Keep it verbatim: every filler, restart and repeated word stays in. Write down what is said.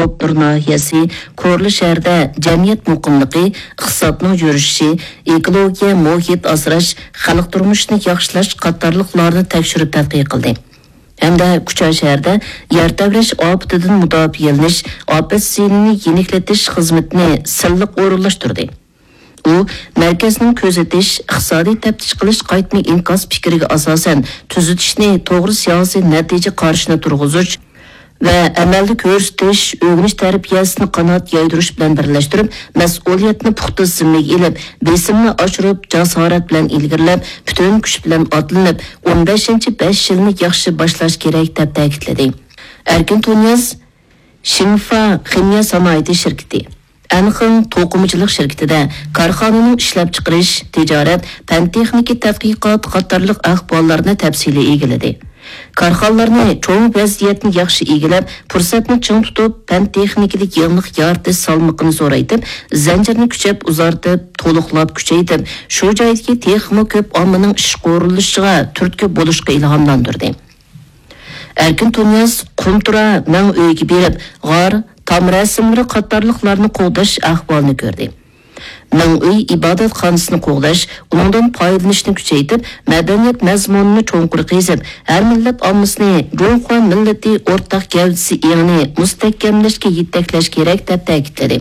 قۇتلۇر ناھىيەسى كورلا شەھىرىدە جەمئىيەت مۇقىملىقى، ئىقتىسادنىڭ يۈرۈشۈشى، ئېكولوگىيە، مۇھىت ئاسراش، خەلق تۇرمۇشىنى ياخشىلاش قاتارلىقلارنى تەكشۈرۈپ تەتقىق قىلدى ھەمدە كۇچا شەھىرىدە يەر تەۋرەش ئاپىتىدىن مۇداپىئەلىنىش، ئاپەت زىيىنىنى يېنىكلىتىش خىزمىتىنى سىنلىق ئورۇنلاشتۇردى. ئۇ مەركەزنىڭ كۆزىتىش، ئىقتىسادىي تەپتىش قىلىش قايتما ئىنكاس پىكرىگە ئاساسەن، تۈزىتىشنى توغرا سىياسىي نەتىجە قارىشىنى تۇرغۇزۇش ۋە ئەمەلدە كۆرسىتىش، ئۆگىنىش تەربىيەسىنى قانات يايدۇرۇش بىلەن بىرلەشتۈرۈپ، مەسئۇلىيەتنى پۇختا زىممىگە ئېلىپ، بېسىمنى ئاشۇرۇپ، جاسارەت بىلەن ئىلگىرىلەپ، پۈتۈن كۈچ بىلەن ئاتلىنىپ، ئون بەشىنچى بەش يىلنى ياخشى باشلاش كېرەك، دەپ تەكىتلىدى. ئەركىن تۇنىياز شىنفا خىمىيە سانائىتى شىركىتى، ئەنخېڭ توقۇمىچىلىق شىركىتىدە كارخانىنىڭ ئىشلەپچىقىرىش، تىجارەت، پەن-تېخنىكا تەتقىقاتى قاتارلىق ئەھۋاللارنى تەپسىلىي ئىگىلىدى. كارخانىلارنى چوڭ ۋەزىيەتنى ياخشى ئىگىلەپ، پۇرسەتنى چىڭ تۇتۇپ، پەن-تېخنىكىدىكى يېڭىلىق يارىتىش سالمىقىنى زورايتىپ، زەنجىرنى كۈچەپ ئۇزارتىپ، تولۇقلاپ كۈچەيتىپ، شۇ جايدىكى تېخىمۇ كۆپ ئاممىنىڭ ئىشقا ئورۇنلىشىشىغا تۈرتكە بولۇشقا ئىلھاملاندۇردى. ئەركىن تۇنىياز قۇنتۇرا مەڭ ئۆيىگە بېرىپ، غار، تام رەسىملىرى قاتارلىقلارنى قوغداش ئەھۋالىنى كۆردى. مەڭ ئۆي ئىبادەتخانىسىنى قوغداش، ئۇنىڭدىن پايدىلىنىشنى كۈچەيتىپ، مەدەنىيەت مەزمۇنىنى چوڭقۇر قېزىپ، ھەر مىللەت ئاممىسىنى جۇڭخۇا مىللىتى ئورتاق گەۋدىسى ئېڭىنى مۇستەھكەملەشكە يېتەكلەش كېرەك، دەپ تەكىتلىدى.